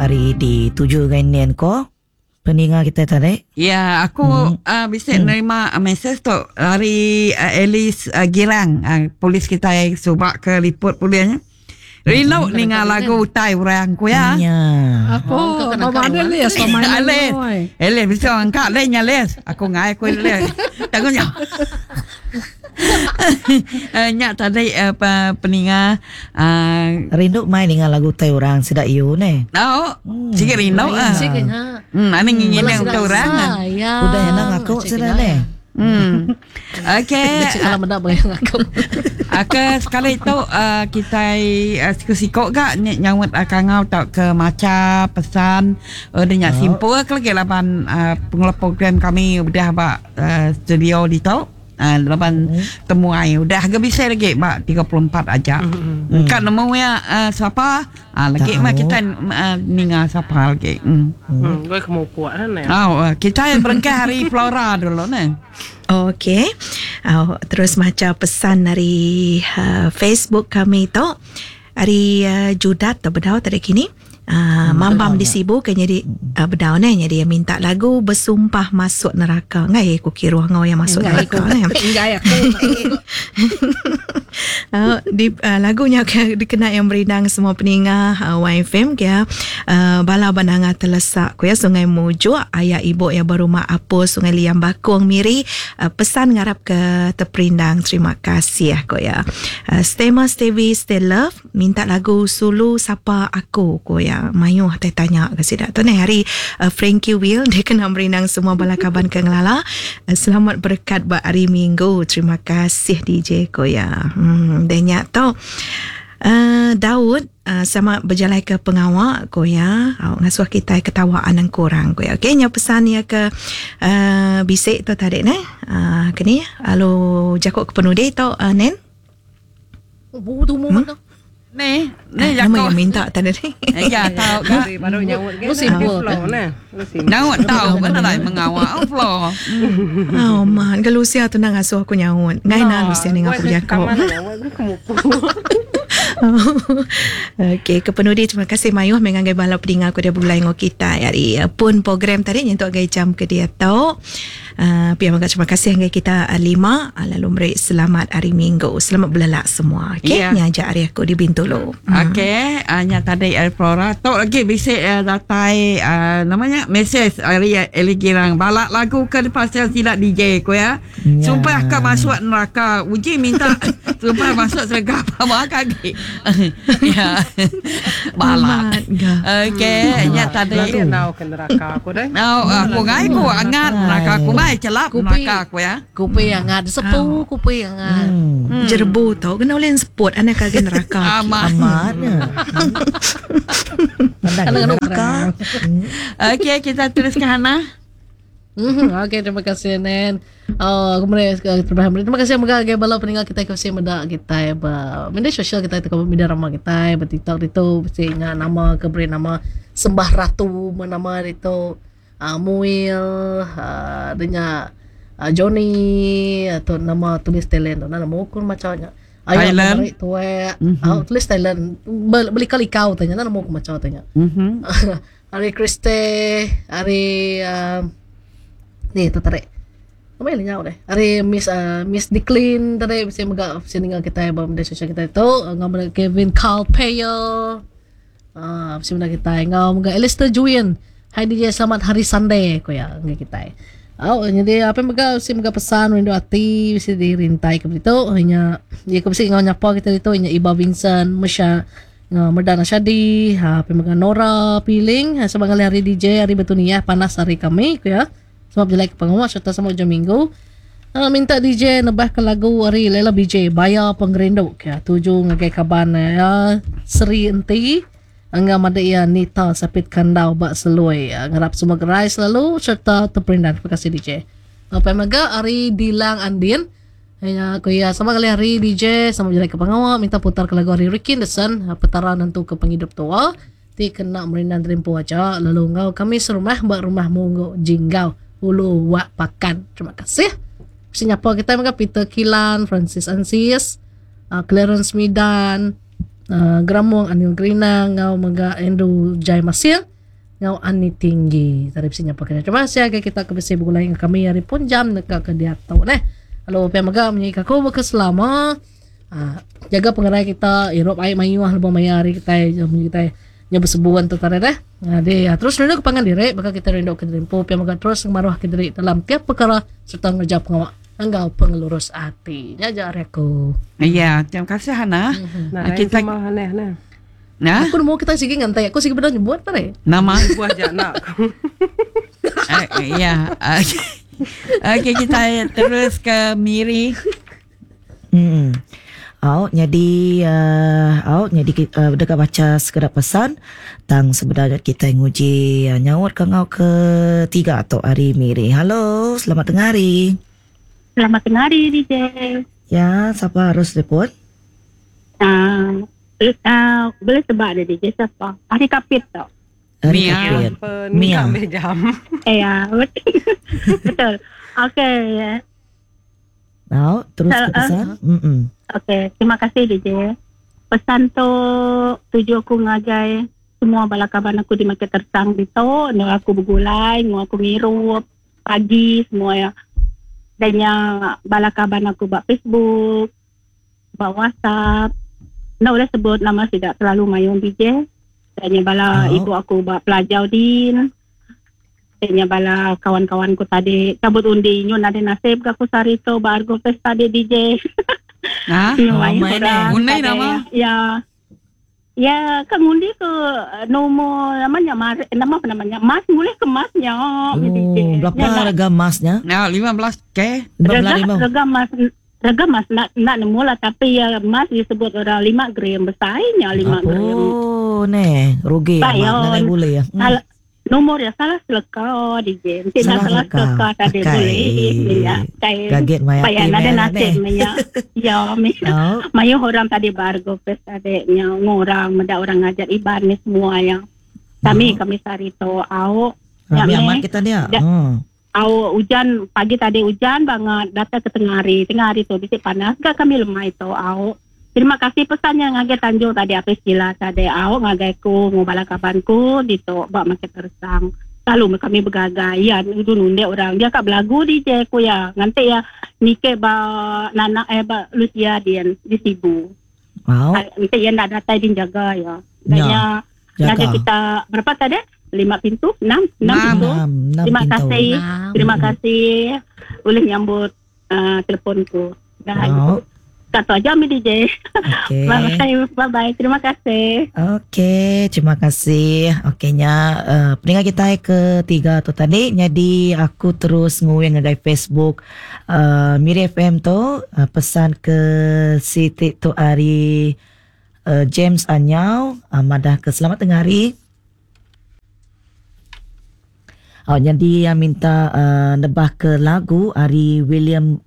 Ari dituju ngai nen ko peninga kita tadi. Ya, aku hmm. uh, bisa hmm. nerima mesej tu dari uh, Alice uh, Girang, uh, polis kita yang subak ke liput polisnya. Rindu hmm. ninga lagu utai orang ku ya. Ya. Aku mama ada les mama ada. Alice bisa angkat le nya les. Aku ngai aku les. Tangguhnya. Eh, nya tadi uh, peninga uh, rindu mai ninga lagu tai orang sida yu ne. Oh, hmm. Sigi rindu ah. Sigi nya. Hmm, ani ngingin untuk orang. Ya. Udah enak aku sida ne. Hmm. Okey. Kalau meda bayang aku. Okey, sekali tu uh, kita uh, siku-siku ga nyaut uh, kangau tau ke maca pesan uh, dia oh. simpul ke lagi laban uh, pengelola program kami udah ba uh, studio ditu. Uh, laban hmm. temuai udah ga bisa lagi ba 34 aja. Hmm. Kan nemu ya uh, siapa? Ah lagi mah kita uh, ninga siapa lagi. Hmm. Hmm, gue kemupuk kan ya. Oh, kita berengkah hari Flora dulu ne. Okey. Uh, terus maca pesan dari uh, Facebook kami tu. Ari uh, Judat tu bedau tadi kini. Uh, mambam di Sibu ke jadi uh, bedau ne jadi minta lagu bersumpah masuk neraka ngai aku kiruh ngau yang masuk neraka ne ngai aku uh, di uh, lagunya ke dikena yang berindang semua peninga uh, YFM ke uh, bala bananga telesak ku ya Sungai Mujuk ayah ibu yang berumah Apus Sungai Liam Bakung Miri uh, pesan ngarap ke terperindang terima kasih ku ya uh, stay ma stay we stay love minta lagu Sulu Sapa Aku ko ya mayuh tai tanya ke sida tu ni hari uh, Frankie Will dia kena merindang semua bala kaban ke ngelala uh, selamat berkat ba hari Minggu terima kasih DJ ko ya hmm dia nya tu uh, Daud uh, sama berjalai ke pengawa ko ya uh, ngasuh kita ketawa anang kurang ko ya okey nya pesan ya ke uh, bisik tu tadi ne uh, kini lalu jakuk ke penudi tu uh, nen Bu tu mu mana? Ni, ni ah, Nama yang minta tadi ni. Ya, tahu kan. Baru nyaut ke. Lu simpul kan. Nyaut tahu kan lah mengawal flow. Oh man, ke Lucia tu nak ngasuh aku nyaut. Ngai na Lucia ni ngaku jago. Okey, ke penudi terima kasih mayuh mengangai bala peninga aku dia bulai ngau kita hari pun program tadi nyentuk gai jam ke dia tau. Uh, pihak mangga terima kasih hingga kita uh, lima uh, lalu beri selamat hari Minggu. Selamat belelak semua. Okey, yeah. Nya hari aku di Bintulu. Hmm. Okey, uh, nya tadi uh, Flora tok lagi bisik uh, datai uh, namanya mesej hari uh, Eli Girang balak lagu ke pasal silap DJ ko ya. Yeah. Sumpah ke masuk neraka. Uji minta sumpah masuk surga apa kaki. Ya. Balak. Okey, nya tadi nau ke neraka aku deh. Nau aku ngai ku angat neraka aku mai celap neraka aku ya. Kupi angat sepu kupi angat. Jerbu tu kena ulih seput anak kage neraka. Amat. Amat. Neraka. Okey, kita teruskan Hana. Okey, terima kasih Nen. Oh, kemudian terima kasih mega gai bala peninggal kita ke meda kita ba media sosial kita ke media ramah kita ba TikTok itu mesti nya nama ke beri nama Sembah Ratu nama itu uh, Muil uh, denya uh, Johnny atau nama tulis talent tu nama ukur macamnya. Ayo beri tuwe mm-hmm. tulis talent beli kali kau tanya nama ukur macam tanya. Mm-hmm. Hari Kriste, hari uh, ni tu tarik. Apa yang nyau deh. Hari Miss uh, Miss Decline tadi bisa mega bisa tinggal kita ba media sosial kita itu ngau Kevin Carl Payer. Ah uh, bisa mega kita ngau mega Alistair Julian. Hai DJ selamat hari Sunday ko ya ngau kita. Oh jadi apa mega bisa mega pesan rindu hati bisa dirintai ke itu hanya ya ke bisa ngau nyapa kita itu hanya Iba Vincent, Musya Merdana Shadi, ha apa mega Nora Piling, sebagai hari DJ hari Betunia panas hari kami ko ya. Sebab jelek ke pengawal serta sama hujung minggu. Uh, minta DJ nebah ke lagu hari Lela BJ Bayar Pengerindu ya tuju ngagai kaban ya Seri Enti engga mada ia Nita Sapit Kandau bak Selui ya, ngarap semua gerai selalu serta terperindan. Terima kasih DJ. Apa mega hari Dilang Andin ya aku ya sama kali hari DJ sama jelek ke pengawal minta putar ke lagu hari Ricky Anderson petara nentu ke penghidup tua ti kena merindan terimpu aja lalu ngau kami serumah bak rumah munggu jinggau Ulu Wak Pakan. Terima kasih. Sinyapa kita mega Peter Kilan, Francis Ansis, uh, Clarence Midan, uh, Gramong Anil Grinang, ngau mega Andrew Jai Masir. Ngau Ani Tinggi. Tadi bisi nyapa kena. Terima kasih agai kita ke bisi begulai dengan kami hari pun jam neka ke diatu neh. Lalu pia mega munyi ke aku baka selama uh, jaga pengerai kita irup ai mayuh lebuh maya hari kitai munyi kitai nya besebun tu tadi deh. Jadi uh, terus rindu ke pangan diri baka kita rindu ke diri empu pia mega terus ngemaruh ke diri dalam tiap perkara serta ngereja pengawa enggau pengelurus ati. Nya aja ari aku. Ya, terima kasih Hana. Mm-hmm. Nah, kita sama Hana. Nah. Nah. Aku nemu kita sigi ngantai. Aku sigi bedau nyebut tadi. Nama buah jana aku. Ya. Okey kita terus ke Miri. Au nyadi au nyadi deka bacha sekeda pesan tang sebedau nya kitai nguji nyaut ke enggau ke tiga tu ari Miri. Hello, selamat tengah hari. Selamat tengah hari DJ. Ya, sapa harus telefon? Uh, boleh tebak dia DJ siapa? Ari Kapit tu. Ari Mia. Kapit. Mia. Mia. Ya, betul. betul. Okey. Now, terus ke pesan. Mm Okey, terima kasih DJ. Pesan tu tuju aku ngagai semua bala kaban aku di Market Tersang ditu, endur aku begulai, enggau aku ngirup pagi semua ya. Dan nya bala kaban aku ba Facebook, ba WhatsApp. Enda ulih sebut nama sida terlalu mayuh DJ. Dan nya bala oh. ibu aku ba Pelajau din. Nya bala kawan-kawan ku tadi cabut undi nyu nadai nasib ga ku sehari tu ba Argo Fest tadi DJ. Ha? Nyu Oh, mayuh main orang Undai tadi. nama? Ya. Ya, kan ngundi ke nombor namanya mar, nama apa namanya? Mas boleh ke masnya Oh, DJ. berapa Ya, nak- harga emasnya? Nah, 15k. Rega, 15,000. rega mas rega mas nak nak nemu lah tapi ya mas disebut orang 5 gram besarnya 5 gram. Oh, neh, rugi Pak, amat ya. nadai boleh ya. Salah, nomor ya salah seleka DJ. Mesti nak Salah salah seleka. seleka tadi Pakai. boleh ya. Kai Kaget maya Bayan ada nasib ya. Ya, mi. Oh, Mayu orang tadi bargo pes tadi nya ngorang meda orang ngajar iban ni semua yang kami kami sari to au rami Ya, amat meh. kita dia. Ya. Au hujan pagi tadi hujan banget datang ke tengah hari tengah hari tu bisik panas gak kami lemah itu au terima kasih pesannya ngagai Tanjung tadi apa istilah tadi au ngagai ku ngubala kabanku di to bak makin tersang selalu kami bergagai ya itu nunde orang dia kak belagu di ku ya nganti ya nike ba nana eh ba Lucia dian di Sibu Wow, nanti ya nak datang din jaga ya Ya, Kayaknya jaga. ngagai kita berapa tadi lima pintu enam enam Enam. pintu Enam, enam Terima pintu. kasih. Nah. Terima kasih boleh nyambut teleponku. Dah Oh, Satu aja Mi DJ. okey. Bye bye. Bye bye. Terima kasih. Okey, terima kasih. Okeynya, pendengar kita ketiga tu tadi jadi aku terus nguing ngagai Facebook Miri FM tu pesan ke Siti tu hari James Anyau madah ke selamat tengah hari. Oh, jadi yang minta nebah ke lagu ari William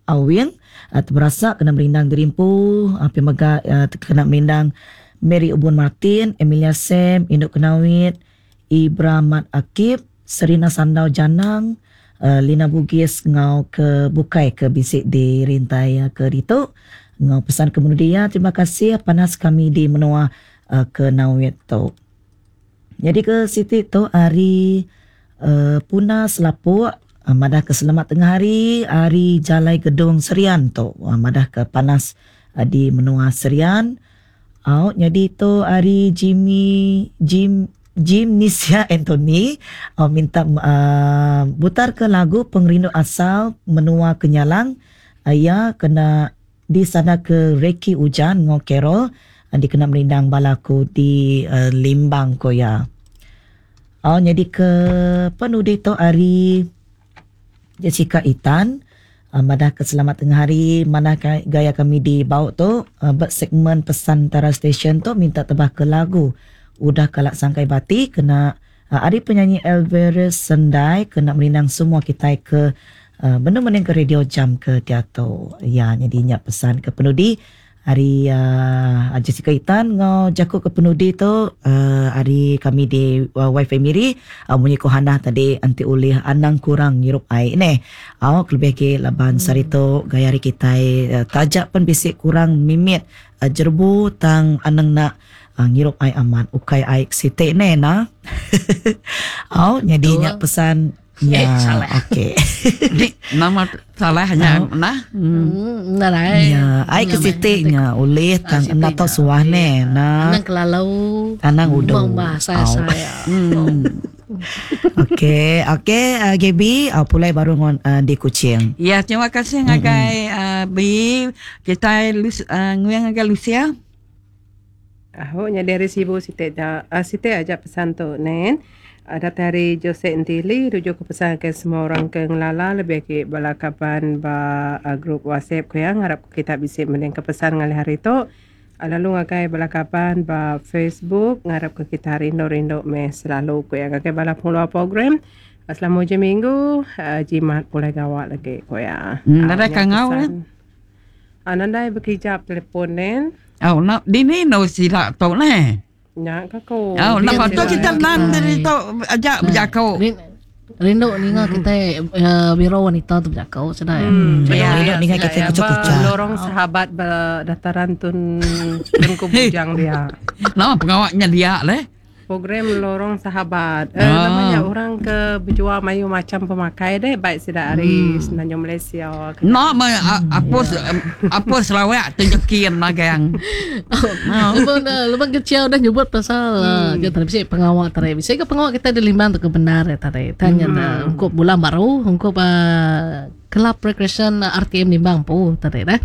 Awing terberasa kena merindang Derimpu uh, pemega kena merindang Mary Ubun Martin, Emilia Sam, Induk Kenawit, Ibra Mat Akib, Serina Sandau Janang, Lina Bugis ngau ke Bukai ke bisik di rintai ke ditu. Ngau pesan ke dia, terima kasih panas kami di menua ke Nawit tu. Jadi ke Siti tu hari Puna Selapuk madah ke selamat tengah hari hari Jalai Gedung Serian tu madah ke panas di menua Serian. Au jadi tu hari Jimmy Jim Jim Nisia Anthony minta butar ke lagu Pengerindu Asal Menua Kenyalang ya kena di sana ke Reki Ujan ngau Carol dikena merindang balaku di Limbang koya. Oh, jadi ke penudi tu hari Jessica Itan madah ke selamat tengah hari mana gaya kami di bau tu segmen pesan Tara Station tu minta tebah ke lagu udah kalak sangkai bati kena ari penyanyi Elverus Sendai kena merindang semua kita ke benar-benar ke radio jam ke teater ya jadi nyak pesan ke penudi hari Jessica Itan ngau jaku ke penudi tu hari kami di Wi-Fi Miri munyi ko Hana tadi anti ulih anang kurang ngirup ai ne. Au kelebih ke laban sarito gaya hari kita tajak pen bisik kurang mimit jerbu tang anang nak ngirup ai aman ukai ai site ne na. Oh, jadi nya pesan ya. Eh, salah. Okey. Ni nama salah nya nah. Nadai. Ya, ai ke siti nya ulih tang Siti enda tau nya. suah ne. Nah, Anang kelalu. anang udu. Bang bahasa Au. saya. Okey, okey uh, Gaby, pulai baru ngon di Kuching. Ya, terima kasih ngagai B. Kita Lus, nguyang ngagai Lucia. Aho nya dari Sibu site da site aja pesan tu nen. Ada dari Jose Entili rujuk ke pesan ke semua orang ke ngelala lebih ke bala kaban ba grup WhatsApp ku yang harap kita bisa mending ke pesan ngalih hari tu. Lalu ngagai bala kaban ba Facebook ngarap ke kita rindu-rindu meh selalu ku yang ngagai bala pengeluar program. Selama hujung minggu jimat pulai gawak lagi ku ya. Nadai Nya kangau, pesan. Nandai berkijap telefon nen. Oh, nak dini no sila tu ne. Nya kako. Oh, nak patut kita nan dari tu ajak berjakau. Rindu ninga kita biro wanita tu berjakau sudah ya. Ya, Rindu ninga kita kucak-kucak. Lorong sahabat dataran tun tun kubujang dia. Nama pengawaknya dia leh. Program lorong sahabat. Namanya orang ke berjual mayu macam pemakai deh baik sida hari Semenanjung Malaysia. Nak me apa apa Sarawak tunjukin lah gang. Lepas lepas kecil dah nyebut pasal dia tadi bisa pengawak tadi. Bisa ke pengawak kita di Limbang tu ke benar ya tadi. Tanya dah ungkup bulan baru ungkup Kelab Recreation RTM Limbang pu tadi dah.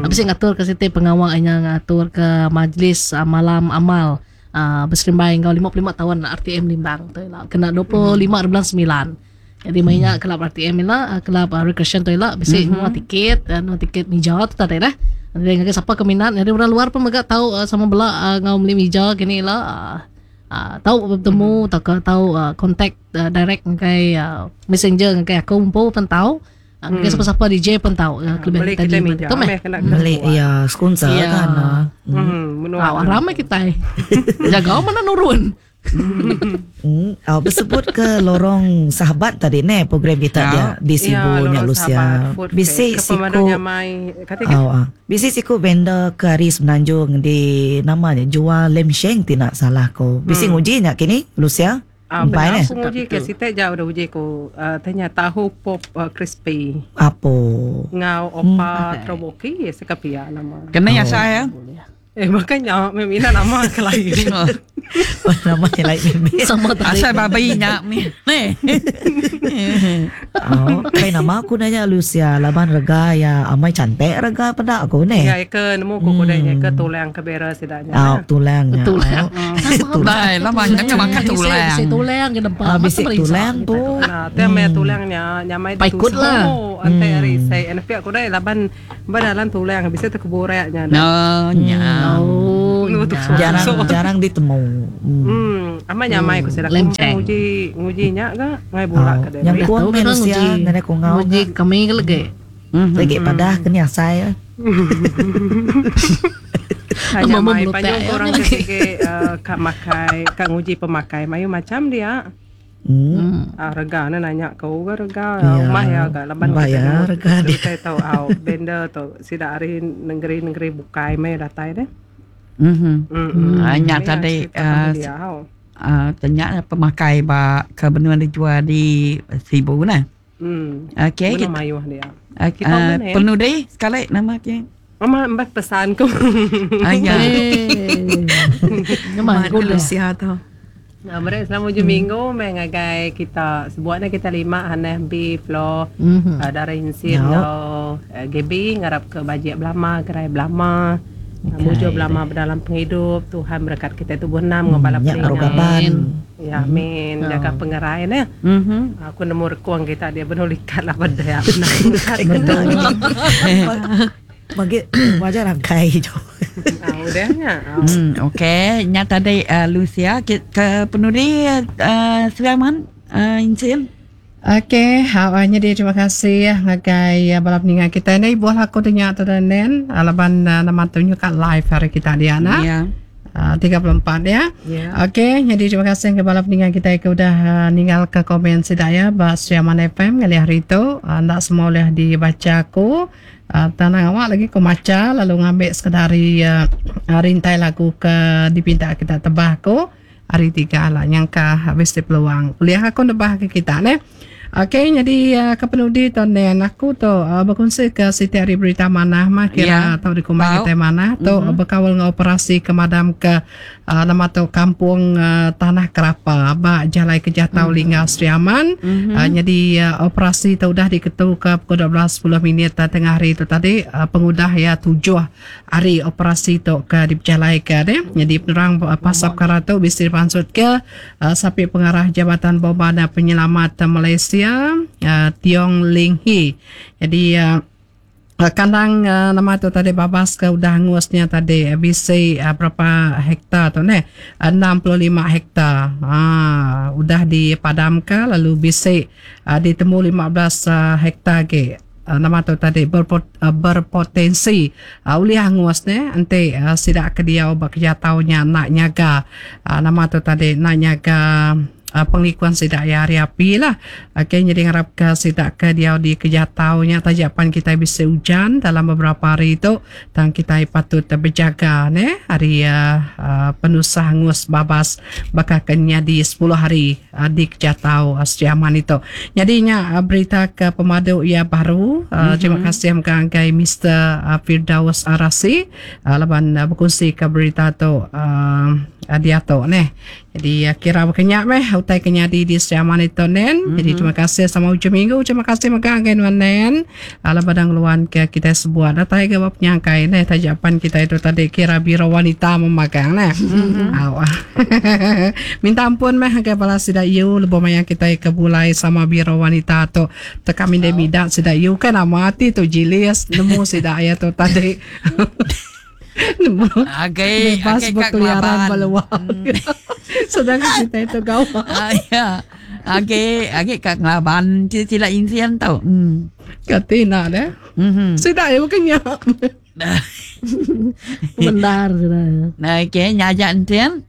Habis ngatur ke situ pengawak nya ngatur ke majlis malam amal. Berserimbai ngau 55 tahun RTM Limbang tu lah. Kena 25 bulan 9. Jadi mainnya kelab RTM lah, kelab recreation tu lah, bisi semua tiket, no tiket meja tu tadi dah. Jadi ngake siapa keminat, jadi orang luar pun megak tahu sama bela ngau beli meja kini lah. Tahu bertemu, tahu tahu contact direct ngakai messenger ngakai aku pun pun tahu. Ngakai siapa-siapa DJ pun tahu. Kelebihan Beli kita kita di meja. tu meh. Beli ya sponsor Ya. kan. Ramai kita. Jaga mana nurun. Bersebut ke lorong sahabat tadi ne program kita dia di Sibu nya Lucia. Bisi siku bisi siku vendor ke hari Semenanjung di namanya jual lem sheng tidak salah ko. Bisi nguji nya kini Lucia. Benar aku nguji ke situ jauh dah uji ko tanya tahu pop crispy. Apa? Ngau opa troboki ya sekapia nama. Kena ya saya. Makanya memang nama kelain. Nama yang lain memang. Sama tadi. Asal babi nyak ni. Oh, kai nama aku nanya Lucia, laban rega ya amai cantik rega pada aku ne. Ya ke nemu ku kudanya ke tulang ke bera sidanya. Oh, tulangnya. Tulang. Bai, lama nyak makan tulang. Bisi tulang ke depan. Bisi tulang tu. Nah, te me tulangnya nyamai Paikut lah. Ante hari saya NP aku dai laban badalan tulang bisa terkebureknya. No, nya. Oh, jarang jarang ditemu. Ama nyamai ku sedang nguji nguji nya ga ngai bola ke dai. Yang kuang manusia ngene ku ngau. Nguji kami ke lagi. Lagi padah ke ni asai. Hanya mai panjang orang ke ka makai ka nguji pemakai mayu macam dia. Rega na nanya kau ga rega rumah ya ga laban kita rega dia tahu au vendor tu sida ari negeri-negeri bukai mai datai deh. Nya tadi tanya pemakai ba ke benua dijual di Sibu nah. Okey kita mayuh dia. Kita penudi sekali nama ke. Mama mbak pesan ku. Aya. Nama ku Lucia tu. Nah, mereka selama hujung minggu mengagai kita sebuatnya kita lima Haneh B Flo Dara Insin atau Gaby ngarap ke bajik belama gerai belama mujo belama berdalam penghidup Tuhan berkat kita tubuh enam ngobala pengaban. Ya amin jaga pengerai ne. Aku nemu rekuang kita dia benar likat lah pada ya. Bagi wajar rangkai jo. Udahnya. Okey, nya tadi Lucia ke penudi Sulaiman Insin. Okey, awalnya dia terima kasih ngagai bala peningan kita ni buah aku tanya tu nen alaban nama tunjuk kat live hari kita dia nak. Ya. 34 ya. Okey, jadi terima kasih ke bala peningan kita yang udah ninggal ke komen sedaya ba Siaman FM kali hari itu. Ndak semua boleh dibaca aku. Tanang awak lagi ku maca lalu ngambil sekedar rintai lagu ke dipinta kita tebah aku. Hari tiga lah nyangka bisi peluang. Ulih aku nebah ke kita neh. Okey nyadi ke penudi tu nen aku tu bekunsi ke siti ari berita manah mah kira yeah. tau dikumbai kitai manah tu mm-hmm. bekaul enggau operasi ke madam ke uh, nama tu kampung uh, Tanah Kerapa ba Jalai Kejatau mm-hmm. Lingga Sri Aman. Mm-hmm. Uh, nyadi uh, operasi tu udah diketu ke pukul 12.10 minit uh, tengah hari tu tadi uh, pengudah ya tujuh Ari operasi tu ke dipejalaika deh, nyadi penerang pasal pekara tu bisi dipansutka Sapit Pengarah Jabatan Bomba dan Penyelamat Malaysia Tiong Ling Hee. Nyadi kandang nama tu tadi babas ke udah angus nya tadi bisi berapa hektar tu neh 65 hektar aaa udah dipadamka lalu bisi ditemu 15 hektar agi. Nama tu tadi berpotensi ulih angus ne enti sida ke diau ba kejatau nya enda nyaga nama tu tadi enda nyaga pengelikun sida iya ari api lah. Okey nyadi ngarap ka sida ke diau di kejatau nya taja pan kitai bisi ujan dalam beberapa hari tu tang kitai patut bejaga ne ari penusah angus babas baka ke nyadi sepuluh hari. Di Kejatau Sri Aman itu. Nyadi nya berita ke pemadu iya baru. Mm-hmm. Terima kasih mega ngagai Mister Firdaus Arasi laban bekunsi ke berita tu diatu neh. Jadi kira baka nya meh utai ke nyadi di Sri Aman itu nen. Mm-hmm. Jadi terima kasih sama ujung minggu. Terima kasih mega ngagai nuan nen. Laban dah ngeluan ke kitai sebuat datai ke ba penyangkai neh taja pan kitai tu tadi kira biro wanita memagang neh. Mm-hmm. Au. Minta ampun meh ngagai bala sida yu lebuh maya kitai ke bulai sama biro wanita tu. Teka mindai mida sida yu kan nama ati tu jilis nemu sida iya tu tadi. Nemu. Agai Bebas agai ka berkeliaran ngelaban. ba luar. Sedangkan kitai tu gawa. Ah, ya. Agi agi ka ngelaban sida insian tu. Hmm. Kati enda deh. Mhm. Sida iya bukan nya. Bendar sida. Nah, okey, nya aja enten.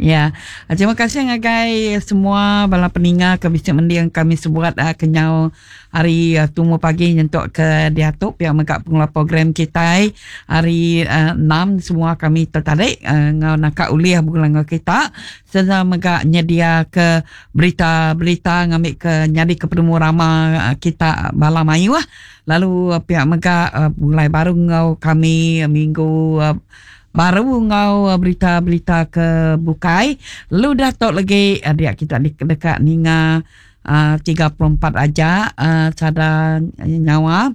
Ya. Terima kasih ngagai semua bala peninga ke bisi mending kami sebuat uh, kenyau hari uh, tumu pagi nyentuk ke diatu pia mega pengeluar program kitai hari uh, 6 semua kami tertarik uh, ngau naka ulih begulai enggau kita serta mega nyedia ke berita-berita ngambi ke nyadi ke penemu rama uh, kita bala mayuh. Lalu pia mega begulai baru enggau kami minggu baru enggau berita-berita ke bukai. Lalu udah tu lagi dia kita deka ninga 34 aja sada nyawa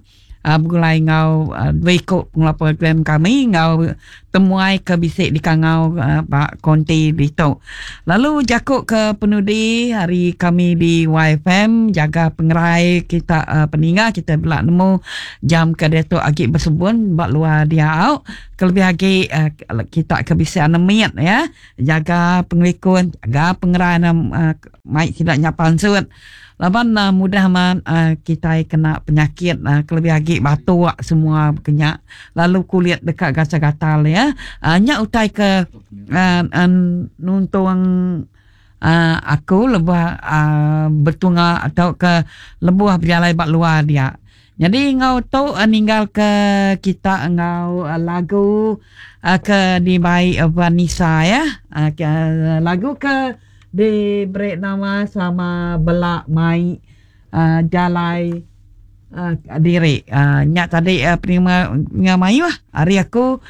begulai enggau dua iku pengeluar program kami enggau temuai ke bisi dikangau ba konti ditu. Lalu jaku ke penudi hari kami di YFM jaga pengerai kita peninga kita bela nemu jam ke diatu agi besebun ba luar dia au kelebih agi kita ke bisi anemit ya jaga pengelikun jaga pengerai mai sida nya pansut. Laban mudah amat kitai kena penyakit kelebih agi batuk semua baka nya lalu kulit deka gatal gatal iya. Nya utai ke nuntung aku lebuh betunga tauka lebuh bejalai ba luar dia. Nyadi enggau tu ninggal ke kita enggau lagu ke dibai Vanessa iya. Lagu ke diberi nama sama bela mai jalai diri. Nya tadi penerima enggau mayuh ari aku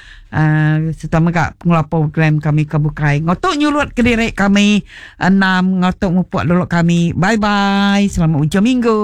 sereta mega pengeluar program kami ke bukai. Enggau tu nyulut kediri kami enam enggau tu mupuk dulu kami. Bye bye. Selamat ujung minggu.